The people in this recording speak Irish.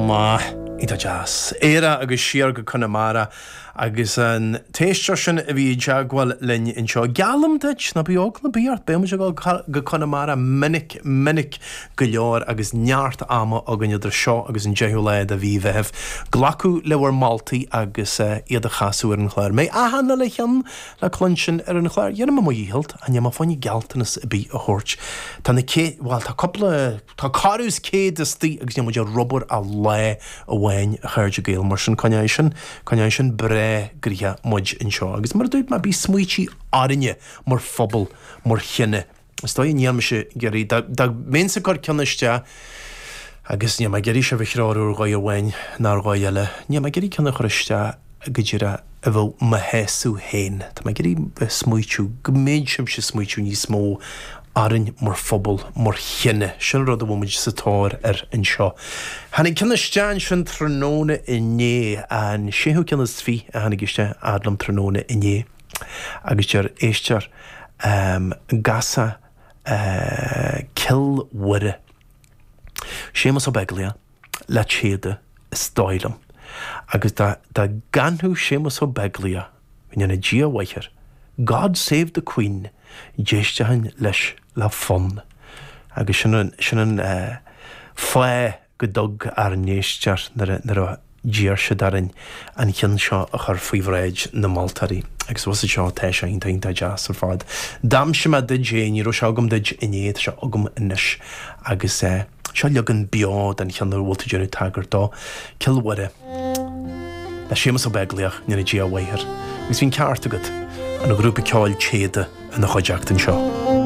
maith. Iontach deas. Éire agus siar go Conamara agus an t-éisteoir sin a bhí i dteagmháil linn anseo. Geallaim duit, ná bíodh eagla ar bith ort, beidh muid ag dul go Conamara minic, minic go leor agus neart ama againn idir seo agus an 10ú lá de mhí Mheithimh glacadh le bhur moltaí agus iad a chasadh ar an chlár. An mbeidh achan uile cheann le cluinstin ar an chlár? Dhéanfaidh mé mo dhícheall, ach níl mé fá choinne gealltanas ar bith a thabhairt. Tá na cé, bhuel, tá cúpla, tá corradh is 100 istigh agus níl muid ar obair ach lá amháin, a chairde Gael, mar sin coinneoidh sin, coinneoidh sin breá gnoitheach muid anseo. Agus mar a dúirt mé, bíodh smaoití orainne mar phobal, mar chine. Is dóigh níl mise ag iarraidh, dá, dá mbeinnse ag cur ceann isteach, agus níl mé ag iarraidh sibh a threorú ar dhóigh amháin ná ar dhóigh eile, níl mé ag iarraidh ceann a chur isteach go díreach a bheadh mo shásamh féin. Tá mé ag iarraidh bheith smaoitiú, go mbeidh sibhse ag smaoitiú níos mó orainn mar phobal, mar chine. Sin rud a bhfuil muid sa tóir air anseo. Tháinig ceann isteach ansin tráthnóna inné, an séú ceann is 20 a tháinig isteach fhad liom tráthnóna inné. Agus deir éisteoir, Gasa Cill Mhuire, Séamus Ó Beaglaoich le Téada is dóigh liom. Agus dá gcanfadh Séamus Ó Beaglaoich, go ndéana Dia a mhaith air, God Save the Queen, d'éistfinn leis le fonn. Agus sin an, sin an fáth go dtug ár n-éisteoir nuair a d'iarr siad orainn an ceann seo a chur faoi bhráid na moltóirí. Agus bhfuil fhios agat seo, tá sé iontach iontach deas ar fad. D'aimsigh mé duit é, ní raibh sé agam duit inné, tá sé agam anois. Agus seo leagan beo den cheann a bhfuil tú ag déanamh tagairt dó, Cill Mhuire, le Séamus Ó Beaglaoich, go ndéana Dia a mhaith air. Agus bhí an ceart agat, an grúpa ceoil Téada ina chuideachta anseo.